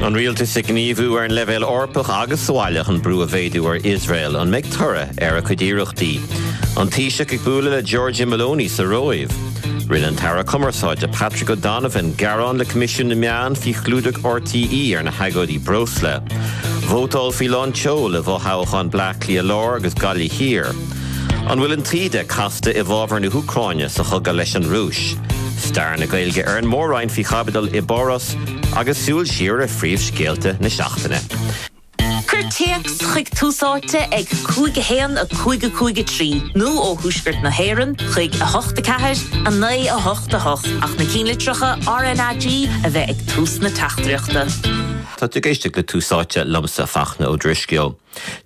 An rialtas ag gníomhú ar an leibhéal Eorpach agus sa bhaile chun brú a mhéadú ar Iosrael. An mbeidh toradh ar a cuid iarrachtaí? An Taoiseach ag bualadh le Giorgia Meloni sa Róimh. Rinne an tAire Cumarsáide Patrick O'Donovan gearán le Coimisiún na Meán faoi chlúdach RTÉ ar na hagóidí breosla. Vótáil faoi lán tseoil i bhfothoghcháin Bleá Cliath Láir agus Gaillimh Thiar. An bhfuil an taoide casta i bhfabhar na hÚcráine sa chogadh leis an Rúis? Stair na Gaeilge ar an Mór-Roinn faoi chaibidil i bPáras agus súil siar ar phríomhscéalta na seachtaine. Cuir téacs chuig Tús Áite ag 5 1 5 5 3 nó ó Thuaisceart na hÉireann chuig 8 4 9 8 8 ach na cinnlitreacha RnaG a bheith ag tús na teachtaireachta. Tá tú ag éisteacht le Tús Áite liomsa, Fachtna Ó Drisceoil.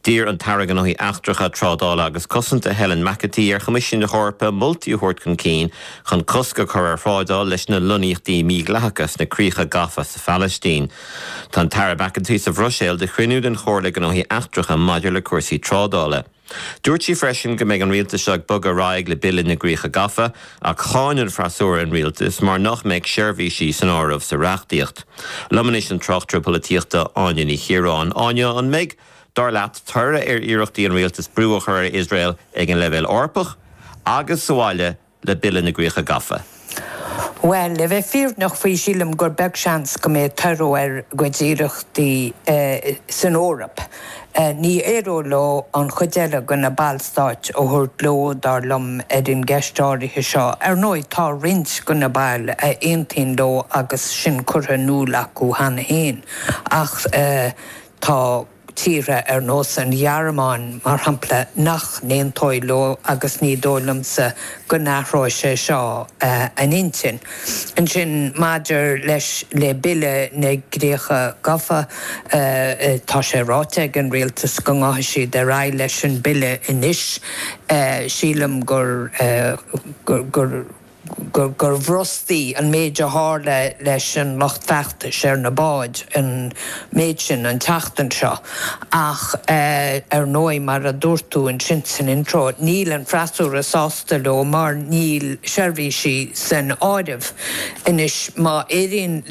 D'iarr an tAire Gnóthaí Eachtracha, Trádála agus Cosanta Helen McEntee ar Choimisiún na hEorpa moltaí a thabhairt chun cinn chun cosc a chur ar thrádáil leis na lonnaíochtaí mídhleathacha sna críocha gafa sa Phalaistín. Tá an tAire McEntee sa Bhruiséil do chruinniú den Chomhairle Gnóthaí Eachtracha maidir le cúrsaí trádála. Dúirt sí freisin go mbeidh an rialtas seo ag bogadh ar aghaidh le Bille na gCríocha Gafa ach cháin an freasúra an rialtas mar nach mbeadh seirbhísí san áireamh sa reachtaíocht. Liom anois an tráchtaire polaitíochta Áine Ní Chiaráin. Áine, an mbeidh, dar leat, toradh ar iarrachtaí an rialtais brú a chur ar Iosrael ag an leibhéal Eorpach agus sa bhaile le Bille na gCríocha Gafa? Bhuel, le bheith fírinneach faoi, sílim gur beag seans go mbeidh toradh ar a gcuid iarrachtaí san Eoraip. Ní éireoidh leo an chuid eile de na ballstáit a thabhairt leo, dar liom, ar an gceist áirithe seo. Ar ndóigh, tá roinnt de na baill a aontaíonn leo agus sin curtha in iúl acu cheana féin, ach tá. tíortha ar nós an Ghearmáin, mar shampla, nach n-aontóidh leo agus ní dóigh liomsa go n-athróidh sé seo a n-intinn. Ansin, maidir leis le Bille na gCríocha Gafa, tá sé ráite ag an rialtas go ngabhfaidh siad ar aghaidh leis an bille anois. Sílim gur gur. gur bhrostaigh an méid a tharla leis an lucht feachtais ar na báid an méid sin an tseachtain seo. Ach ar ndóigh, mar a dúirt tú ansin san intro, níl an freasúra sásta leo mar níl seirbhísí san áireamh. Anois, má éiríonn.